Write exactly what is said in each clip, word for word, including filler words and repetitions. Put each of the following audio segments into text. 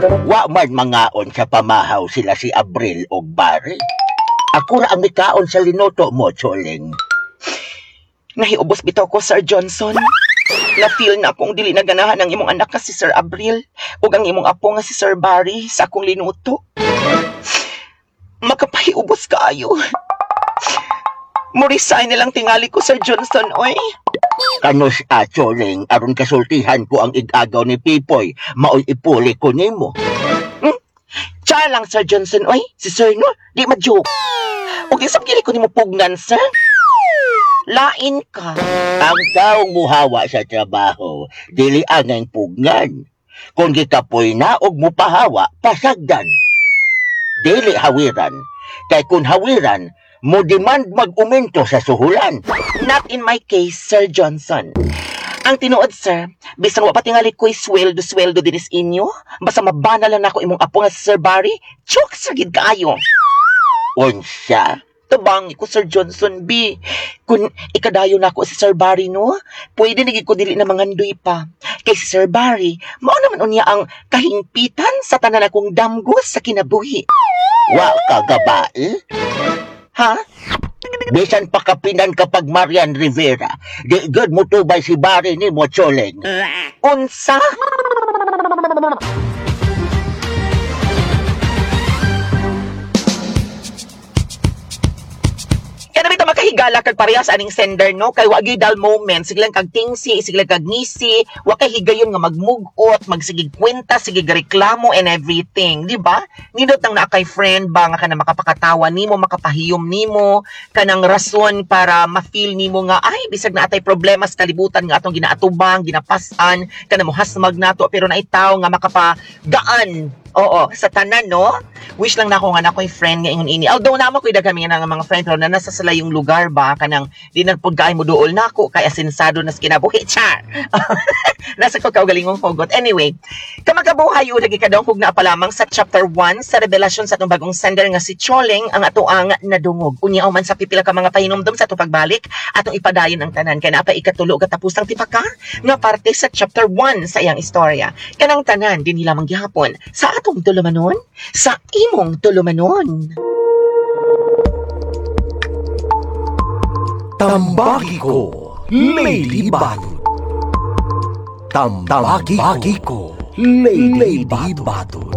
Wa man mangaon sa pamahaw sila si Abril og Barry. Ako ra ang mikaon sa linuto mo, Choling. Nahiubos bitaw ko, Sir Johnson. Na-feel na akong dili naganahan ang imong anak nga si Sir Abril ug ang imong apo nga si Sir Barry sa akong linuto. Makapahiubos kaayo. Mo-resign na lang tingali ko, Sir Johnson, oy. Kanus a, Choling, aron kasultihan ko ang igagaw ni Pipoy, maoy ipuli ko nimo. Hmm? Char lang, Sir Johnson, oy. Si Sir, no? Di ma-joke. Ug isap kini ko nimo pugnan, sir. Lain ka. Ang taong muhawa sa trabaho, dili angay pugnan. Kung gikapoy na og mupahawa, pasagdan. Dili hawiran. Kay kung hawiran, mo demand mag-umento sa suhulan. Not in my case, Sir Johnson. Ang tinuod, sir, bisan wa pa tingali ko'y sweldo-sweldo dinis inyo, basta mabana lang nako imong apo nga si Sir Barry, chok sa gid kaayo. Unsa? Tabangi ko, Sir Johnson B. Kung ikadayo nako si Sir Barry, no? Pwede na gid ko dili na mangandoy pa. Kay si Sir Barry, mao naman unya ang kahingpitan sa tanan akong damgo sa kinabuhi. Wa ka gabae? Ha? Bisan pa kapinan kapag Marian Rivera, di gud mo tubay si Barry ni mo, Choleng. Unsa? Kaya naman makahigala kag parehas aning sender, no? Kay wa gyud dull moment, sige lang kag tingsi, sige lang kag ngisi, wa kay higayon nga magmugot, magsigig kwenta, sige reklamo and everything, di ba? Nindot nang naa kay friend ba nga kana makapakatawa nimo, makapahiyom nimo, kanang rason para ma-feel nimo nga ay bisag na atay problema sa kalibutan nga atong ginaatubang, ginapasan, kana mohasmag nato pero naay tawo nga makapagaan. Oo, sa tanan, no? Wish lang na ako nga na ako'y friend nga ingon ini. Although naman ko'y daghan nga mga friend pero na nasa sila yung lugar ba kanang di na pud kaay mo duol nako kay asensado nas kinabuhi char. Nasa ko kaugalingong hugot. Anyway, kamagabuhay o lagi kadungkog na pa lamang sa chapter one sa revelasyon sa atong bagong sender nga si Choleng ang ato ang nadungog. Unya man sa pipila ka mga pahinumdom sa atong pagbalik atong ipadayon ang tanan kay naa pa ikatulo katapusang tipaka nga parte sa chapter one sa iyang istorya. Kanang tanan dinhi lamang gihapon sa atong tulumanon, sa imong tulumanon. Tambagi ko, Lady Bato. Tambagi ko, Lady Bato.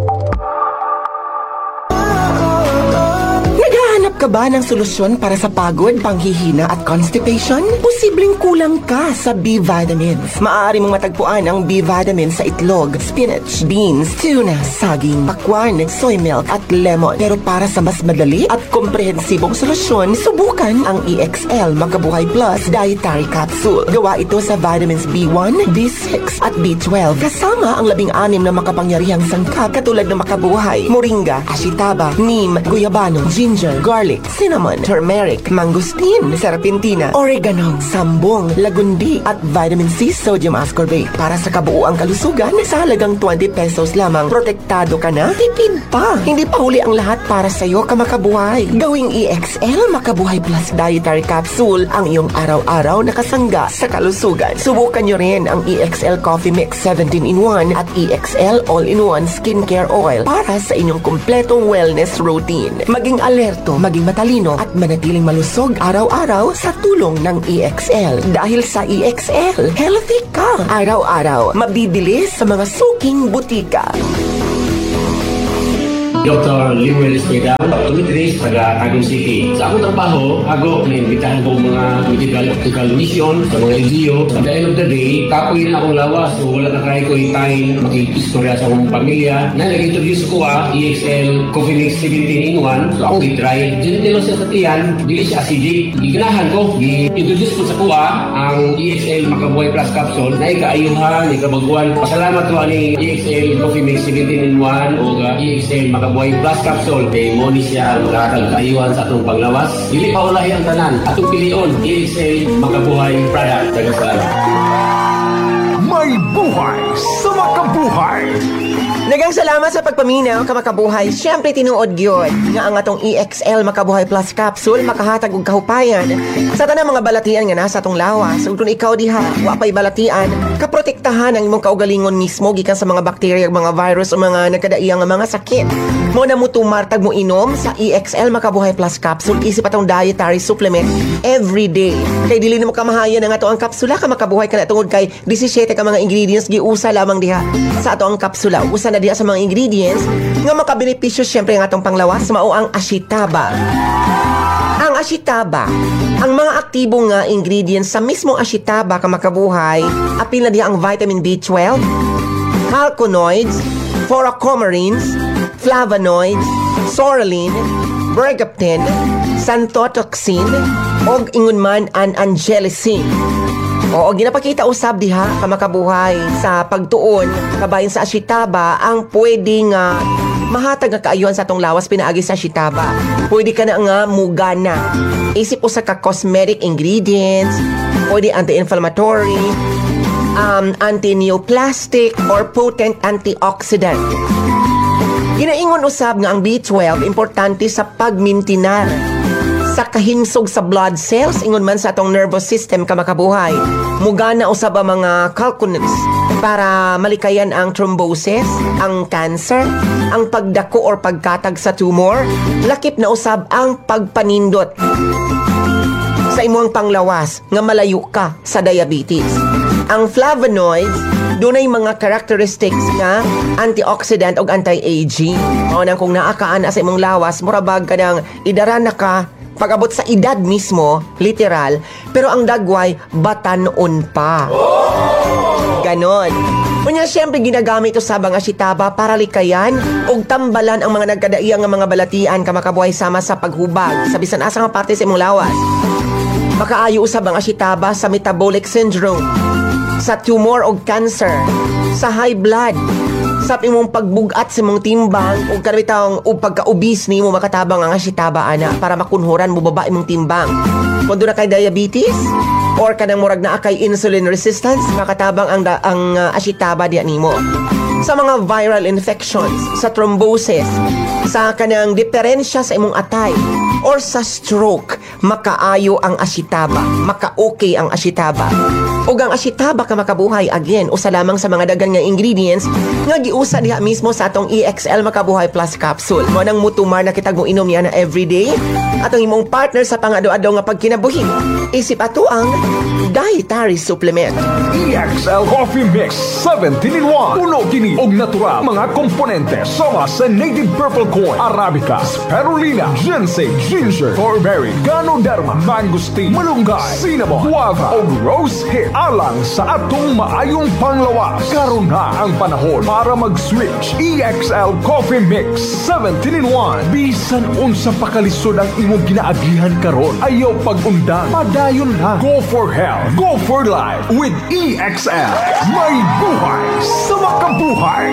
Naghahanap ka ba ng solusyon para sa pagod, panghihina at constipation? Posibleng kulang ka sa B vitamins. Maaari mong matagpuan ang B vitamins sa itlog, spinach, beans, tuna, saging, pakwan, soy milk at lemon. Pero para sa mas madali at komprehensibong solusyon, subukan ang E X L Makabuhay Plus Dietary Capsule. Gawa ito sa vitamins B one, B six at B twelve. Kasama ang labing-anim na makapangyarihang sangkap katulad ng makabuhay, moringa, ashitaba, neem, guyabano, ginger, garlic, cinnamon, turmeric, mangosteen, serpentina, oregano, sambong, lagundi, at vitamin C sodium ascorbate. Para sa kabuuang kalusugan, sa halagang twenty pesos lamang, protektado ka na, tipid pa. Hindi pa huli ang lahat para sa'yo, kamakabuhay. Gawing E X L Makabuhay Plus Dietary Capsule ang iyong araw-araw na kasangga sa kalusugan. Subukan nyo rin ang E X L Coffee Mix seventeen in one at E X L All-in-One Skincare Oil para sa inyong kumpletong wellness routine. Maging alerto, maging matalino at manatiling malusog araw-araw sa tulong ng E X L. Dahil sa E X L, healthy ka araw-araw. Mabibili sa mga suking butika. Doctor Lemuel Esqueda, optometrist, taga Tagum City. Sa akong trabaho, ako, naimbitahan ko mga medical optical mission sa mga N G O. At the end of the day, kapoy na akong lawas. So wala na kaya ko time makikistorya sa akong pamilya. Na nag-introduce ko ah, E X L Coffee Mix seventeen in one. So akong i-try. Gentle lang siya sa tiyan, dili siya acidic. Giganahan ko, i-introduce ko sa kuha ang E X L Makabuhay Plus Capsule na ikaayuhan, ikabaguan. Pasalamat ko ani E X L Coffee Mix seventeen in one o E X L Makabuhay Plus Capsule. Kay mo ni siya ang makakayuhan sa atong panglawas. Dili pa ulahi ang tanan. Atong pilion, E X L Makabuhay Product. Daghang salamat. May buhay sa makabuhay. Daghang salamat sa pagpaminaw, kamakabuhay. Siyempre, tinuod gyud nga ang atong E X L Makabuhay Plus Capsule makahatag og kahupayan sa tanang mga balatian nga nasa atong lawas. Ug kung ikaw diha wa pay balatian, kaprotektahan ang imong kaugalingon mismo gikan sa mga bakterya, mga virus o mga nagkadaiya nga mga sakit. Mao na mutumar tag mo inom sa E X L Makabuhay Plus Capsule isip atong dietary supplement every day. Kay dili nimo kamahayan ang ato ang kapsula, ka makabuhay, kana tungod kay labing-disisyete ka mga ingredients giusa lamang diha sa ato ang kapsula. Usa na diha sa mga ingredients nga makabenepisyo syempre ang atong panglawas mao ang ashitaba. Ang ashitaba, ang mga aktibo nga ingredients sa mismong ashitaba, ka makabuhay, apil na diha ang vitamin B twelve, chalconoids, furanocoumarins, flavonoids, psoralen, bergapten, xanthotoxin, og ingon man ang angelicin. Oo, ginapakita usab diha, ka makabuhay, sa pagtuon kabahin sa ashitaba ang pwede nga mahatag nga kaayuhan sa atong lawas pinaagi sa ashitaba. Pwede ka na nga mugana. Isip usa ka cosmetic ingredients, pwede anti-inflammatory, um, anti-neoplastic or potent antioxidant. Ginaingon usab nga ang B twelve importante sa pagmintinar sa kahinsog sa blood cells ingon man sa atong nervous system, ka makabuhay. Mugana usab ang mga chalconoids para malikayan ang thrombosis, ang cancer, ang pagdako or pagkatag sa tumor, lakip na usab ang pagpanindot sa imong panglawas nga malayo ka sa diabetes. Ang flavonoids dunay mga characteristics nga antioxidant og anti-aging. Mao nang kung naa ka ana sa imong lawas, mura bag ka nang idaran na ka pag-abot sa edad mismo, literal, pero ang dagway, batanon pa. Ganon. Unya, siyempre, ginagamit ito sa mga ashitaba para likayan og tambalan ang mga nagkadaiya nga mga balatian, ka makabuhay, sama sa paghubag sa bisan asa nga parte sa imong lawas. Makaayo usab ang ashitaba sa metabolic syndrome, sa tumor og cancer, sa high blood, sa imong pagbugat sa imong timbang ug kanang ug pagka-obese nimo, makatabang ang ashitaba ana para makunhuran mo baba imong timbang. Kung duna kay diabetes or kanang murag naa kay insulin resistance, makatabang ang da, ang uh, ashitaba diya nimo. Sa mga viral infections, sa thrombosis, sa kanang diferensya sa imong atay, or sa stroke, makaayo ang ashitaba, maka-okay ang ashitaba. Ug ang ashitaba, ka makabuhay, again, usa lamang sa mga daghan nga ingredients nga giusa diha mismo sa atong E X L Makabuhay Plus Capsule. Mao nang mutumar na kitag mo inom niya na everyday atong imong partner sa pang-adlaw-adlaw nga pagkinabuhi. Isip ato ang dietary supplement. E X L Coffee Mix seventeen in one. Puno kini og natural mga komponente sama sa native purple corn, arabica, spirulina, ginseng, ginger, strawberry, ganoderma, mangosteen, malunggay, cinnamon, guava, ug rose hip alang sa atong maayong panglawas. Karon na ang panahon para mag-switch. E X L Coffee Mix seventeen in one. Bisan unsa pa kalisod ang imong ginaagihan karon, ayaw pag-undang. Padayon lang. Go for health. Go for life with E X L. May buhay sa makabuhay.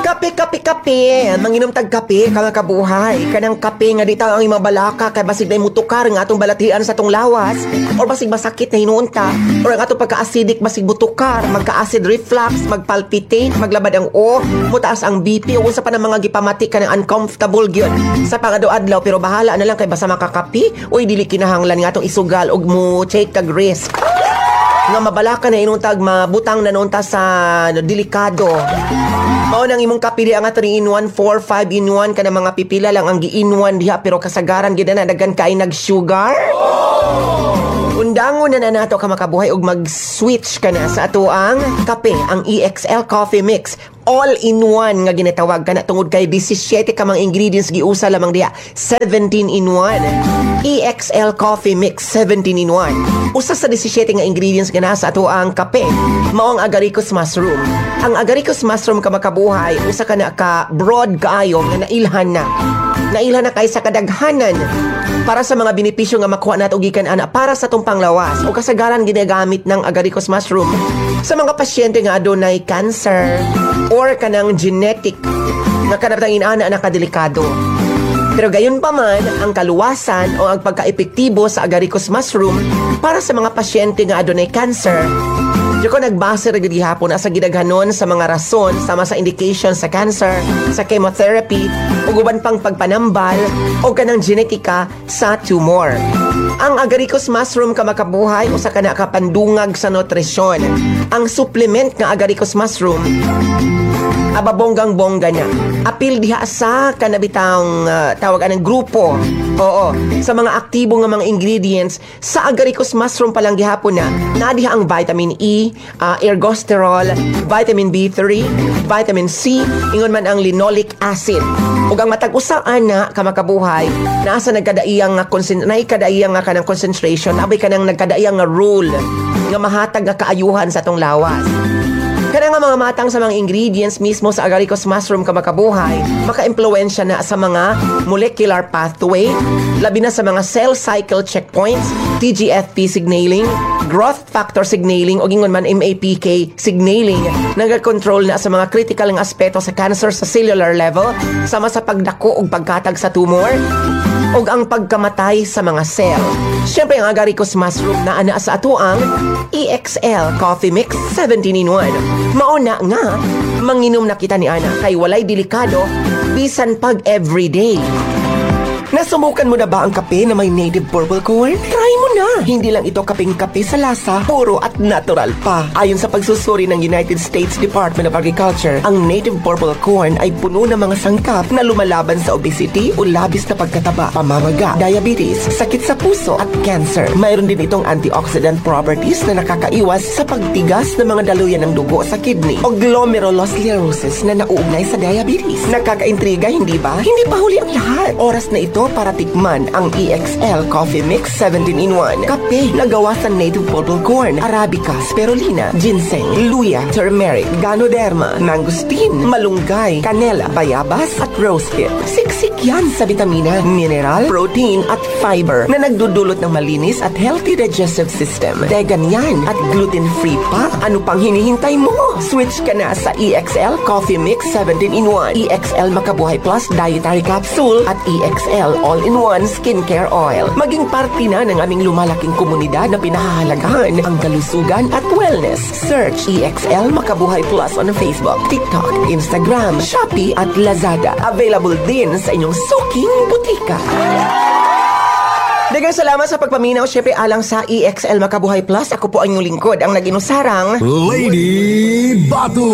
Kape, kape, kape. Manginom tag kape, ka makabuhay. Kanang kape nga di ang imong balaka kay basig na mutukar nga atong balatian sa atong lawas or basig masakit na hinuon ta or ang atong pagka-acidic basig mutukar, magka-acid reflux, magpalpitate, maglabad ang o, mutaas ang B P o unsa pa ng mga gipamati ka ng uncomfortable gyud sa pangadto-adlaw, pero bahala na lang kay basta makakape. Uy, dili kinahanglan nga atong isugal og mo take kag risk nga mabalaka na inuntag mabutang na nunta sa delikado. Mao nang imong kape ang three in one, four, five in one kana mga pipila lang ang gi-in one diha, pero kasagaran gid na daghan kay nag-sugar. Undangon na na nato, ka makabuhay, og mag-switch ka na sa ato ang kape, ang E X L Coffee Mix. All in one nga ginatawag kana tungod kay labing-disisyete ka mga ingredients giusa lamang diha. seventeen in one. E X L Coffee Mix seventeen in one. Usa sa labing-disisyete nga ingredients nga nasa ato ang kape, mao ang agaricus mushroom. Ang agaricus mushroom, ka makabuhay, usa ka na ka broad kaayo nga nailhan na. Nailhan na kay sa kadaghanan para sa mga benepisyo nga makuha nato gikan ana para sa atong panglawas o kasagaran ginagamit ng agaricus mushroom sa mga pasyente nga adunay cancer or kanang genetic nga kanatang inana nakadelikado. Pero gayon pa man, ang kaluwasan o ang pagka-epektibo sa agaricus mushroom para sa mga pasyente nga adunay cancer Di ko nagbase ra gyud gihapon sa gidaghanon sa mga rason sama sa indication sa cancer, sa chemotherapy, ug uban pang pagpanambal o kanang genetika sa tumor. Ang agaricus mushroom ka makabuhay usa ka na kapandungag sa nutrisyon. Ang supplement nga agaricus mushroom aba bonggang bongga niya. Apil diha sa kanabitang uh, tawag anang grupo. Oo, sa mga aktibo nga mga ingredients sa agaricus mushroom pa lang gihapon na naa diha ang vitamin E, uh, ergosterol, vitamin B three, vitamin C, ingon man ang linoleic acid. Ug ang matag usa ana ka makabuhay naa sa nagkadaiyang nga concent naikadaiyang nga kanang concentration, abay kanang nagkadaiyang nga role nga mahatag nga kaayuhan sa atong lawas. Kana nga mga matang sa mga ingredients mismo sa agaricus mushroom ka makabuhay, maka-impluwensya na sa mga molecular pathway, labi na sa mga cell cycle checkpoints, T G F P signaling, growth factor signaling o ingon man M A P K signaling, nagakontrol na sa mga critical nga aspeto sa cancer sa cellular level, sama sa pagdako ug pagkatag sa tumor, ug ang pagkamatay sa mga cell. Siyempre, ang agaricus mushroom na ana sa atoang E X L Coffee Mix seventeen in one. Mauna nga, manginom na kita ni Ana kay walay delikado bisan pag everyday. Nasubukan mo na ba ang kape na may native purple corn? Try mo na! Hindi lang ito kaping-kape sa lasa, puro at natural pa. Ayon sa pagsusuri ng United States Department of Agriculture, ang native purple corn ay puno ng mga sangkap na lumalaban sa obesity o labis na pagkataba, pamamaga, diabetes, sakit sa puso at cancer. Mayroon din itong antioxidant properties na nakakaiwas sa pagtigas ng mga daluyan ng dugo sa kidney o glomerulosclerosis na nauugnay sa diabetes. Nakakaintriga, hindi ba? Hindi pa huli ang lahat. Oras na ito para tikman ang E X L Coffee Mix seventeen in one. Kape na gawa sa native purple corn, arabica, spirulina, ginseng, luya, turmeric, ganoderma, mangosteen, malunggay, kanela, bayabas at rosehip. Siksik yan sa vitamina, mineral, protein at fiber na nagdudulot ng malinis at healthy digestive system. Vegan yan at gluten-free pa. Ano pang hinihintay mo? Switch ka na sa E X L Coffee Mix seventeen in one, E X L Makabuhay Plus Dietary Capsule at E X L All-in-One Skincare Oil. Maging parte na ng aming lumalaking komunidad na pinahahalagahan ang kalusugan at wellness. Search E X L Makabuhay Plus on Facebook, TikTok, Instagram, Shopee at Lazada. Available din sa inyong suking butika. Daghang salamat sa pagpaminaw. Siyempre, alang sa E X L Makabuhay Plus, ako po ang inyong lingkod, ang naginusarang Lady Batu.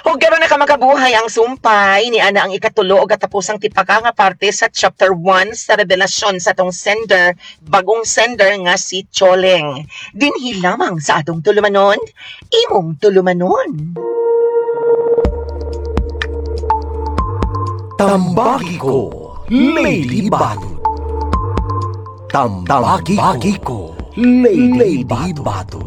Ug karon na ka makabuhay, ang sumpay ni ana ang ikatulo ug katapusang tipaka nga parte sa chapter one sa revelasyon sa atong sender, bagong sender nga si Choleng. Dinhi lamang sa atong tulumanon, imong tulumanon. Tambagi ko, Lady Batu. Tambagi ko, Lady Batu.